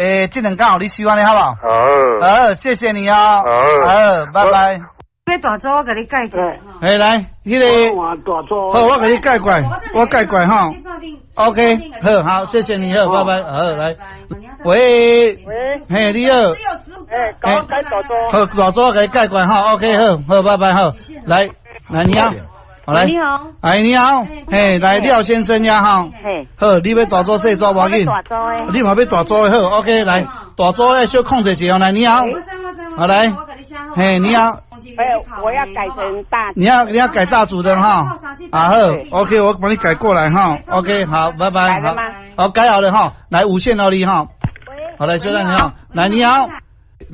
欸，這兩工予你收按呢好無？好。好，謝謝你哦。好。好，拜拜。欲大組我共你改過。欸，來，彼個，好，我共你改過來，我改過來吼。OK，好好，謝謝你，好，拜拜，好，來，喂，喂，嘿，你好，欸，共我改大組。好，大組我共你改過來吼，OK，好，好，拜拜，好，來，來，你好，好來，你好，哎，你好，嘿，來廖先生呀，吼，嘿，好，你欲大組細組無要緊，大組的。你嘛欲大組的好，OK，來，大組的小控制一下，來，你好，好來，嘿，你好。哎，我要改成大。你要改大組的哈，啊好，OK，我幫你改過來哈，OK，好，拜拜，改了嗎？好，改好了哈，來五線到你哈，好來，小蛋你好，來你好，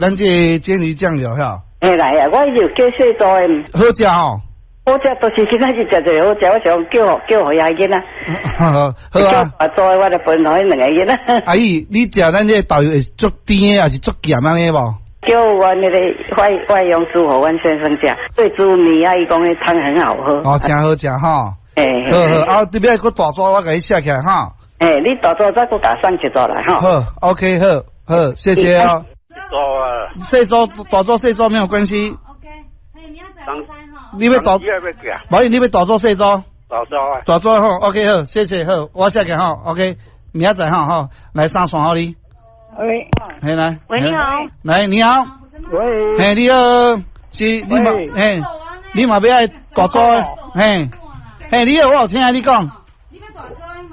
咱這個煎魚醬油哈，欸來啊，我就叫細組的。好食吼，好食，都是今仔日食一个好食，我想叫叫予遐囡仔。好啊。叫大組的，我就分予彼兩個囡仔。阿姨，你食咱這個豆油會足甜的，還是足鹹按呢無？叫阮彼個外傭煮予阮先生食，對煮麵啊，伊講彼湯很好喝。哦，誠好食吼。欸，好好，啊，這邊閣大組，我共你寫起來哈。欸，你大組再閣共送一組來吼。好，OK，好，好，謝謝哦。組啊。細組大組細組沒有關係。你欲大，無你欲大組細組。大組啊。大組好，OK 好，謝謝好，我寫起來吼，OK，明仔載吼吼，來三線予你。喂，嘿來，喂你好，來你好，喂，嘿你好，是你嘛，嘿，你嘛欲愛大組，嘿，嘿你好，我有聽你講，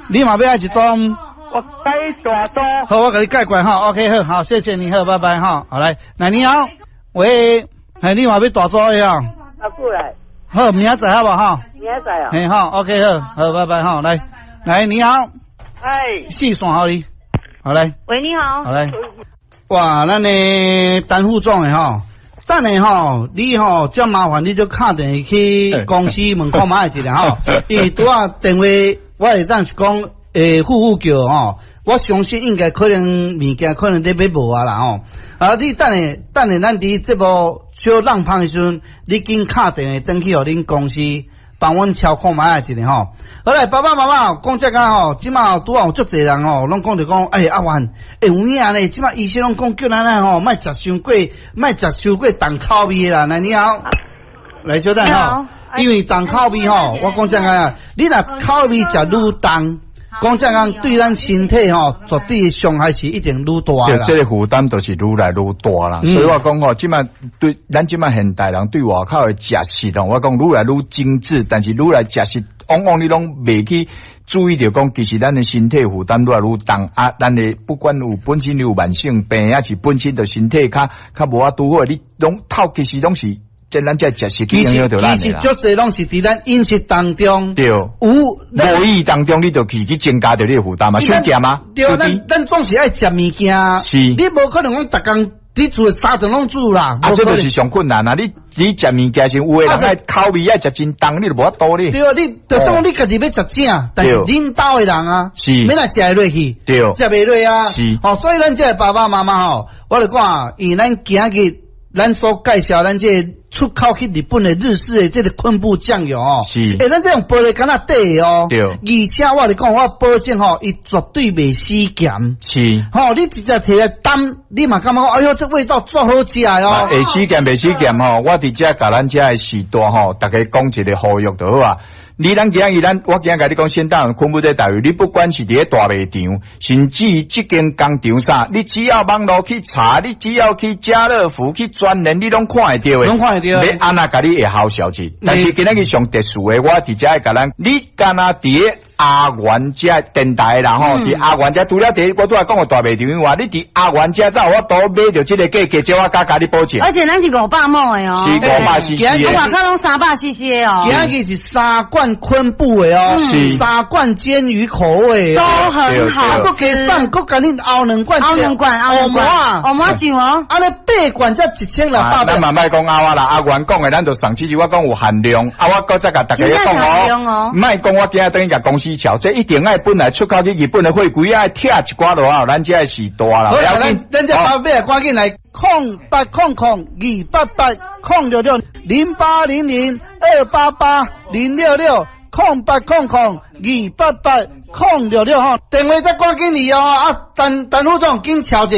你嘛欲愛一組，我改大組，好，我共你改過來吼，OK 好，好，謝謝你，好，拜拜吼，好來，來你好，喂，嘿你嘛欲大組的啊？阿過來，好，明仔載好無吼？明仔載啊？嘿好，OK 好，好，拜拜吼，來，來你好，哎，四線予你。好來，喂，你好，好來，哇，咱的陳副總的吼，等下吼，你吼遮麻煩，你就敲電話去公司問看覓一下吼，因為拄仔電話我會當是講，欸，副副叫吼，我相信應該可能物件可能咧欲無啊啦吼，啊，你等下等下，咱佇節目小讓芳的時陣，你緊敲電話轉去予恁公司。幫阮敲看覓一下吼，好來，爸爸媽媽講這個吼，這馬拄仔有足濟人吼，攏講著講，欸，阿元，欸，有影咧，這馬醫生攏講叫咱吼，莫食傷過，莫食傷過重口味啦。來，你好，來小等吼，因為重口味吼，我講這個，你若口味食愈重，講這樣對咱身體吼，絕對傷害是一定愈大啦。對，這個負擔就是愈來愈大啦。所以我講吼，這馬對咱這馬現代人對外口的食食吼，我講愈來愈精緻，但是愈來食食，往往你攏袂去注意著講，其實咱的身體負擔愈來愈重啊。咱的不管有本身有慢性病，抑是本身就身體較較無法度好，你攏透其實攏是。這咱這食食去影響著咱的啦。其實足濟攏是佇咱飲食當中，對，有無意當中，你就去增加著你的負擔嘛，傷鹹嗎？對，咱總是愛食物件，你無可能講逐工佇厝三頓攏煮啦。啊，這就是上困難啊！你食物件時，有的人愛口味愛食真重，你就無法度咧。對啊，你就算講你家己欲食正，但是恁兜的人啊，欲來食會落去，食袂落啊。吼，所以咱這个爸爸媽媽吼，我就講，以咱今日咱所介紹咱這個出口去日本的日式的這個昆布醬油哦，欸，咱這種玻璃罐仔底的哦，而且我咧講，我保證吼，伊絕對袂死鹹，吼，你直接提來擔，你嘛感覺講，哎喲，這味道足好食的哦。會死鹹袂死鹹吼，我佇遮共咱遮的序大吼，逐家講一個呼籲就好啊。你咱今日咱，我今日共你講，先當昆布這豆油，你不管是佇咧大賣場，甚至這間工廠啥，你只要網路去查，你只要去家樂福、去全聯，你攏看會著的。攏看會著。欲按怎共你會好消息？但是今仔日上特殊的，我佇遮會共咱，你敢若佇咧阿元遮電台啦吼，佇阿元遮除了佇我拄仔講的大賣場以外，你佇阿元遮才有法度買著這個價格，這我敢共你保證。而且咱是500畝的哦，是500 CC 的。外口攏300 CC 的哦。今日是三罐昆布的哦，三罐鰹魚口味都很好。啊，閣加送，閣共你熬兩罐，熬兩罐，熬兩罐，烏麻醬哦。按呢八罐才1600。咱嘛莫講甌仔啦，阿元講的，咱就送，其實我講有限量，啊，我閣再共大家講哦，莫講我今日轉去共公司吵，這一定愛本來出口去日本的貨櫃愛拆一寡落來，咱這的序大啦。好，咱咱這包尾趕緊來08000288,06608002880660800288066吼，電話再趕緊來哦，啊，陳陳副總緊敲一下。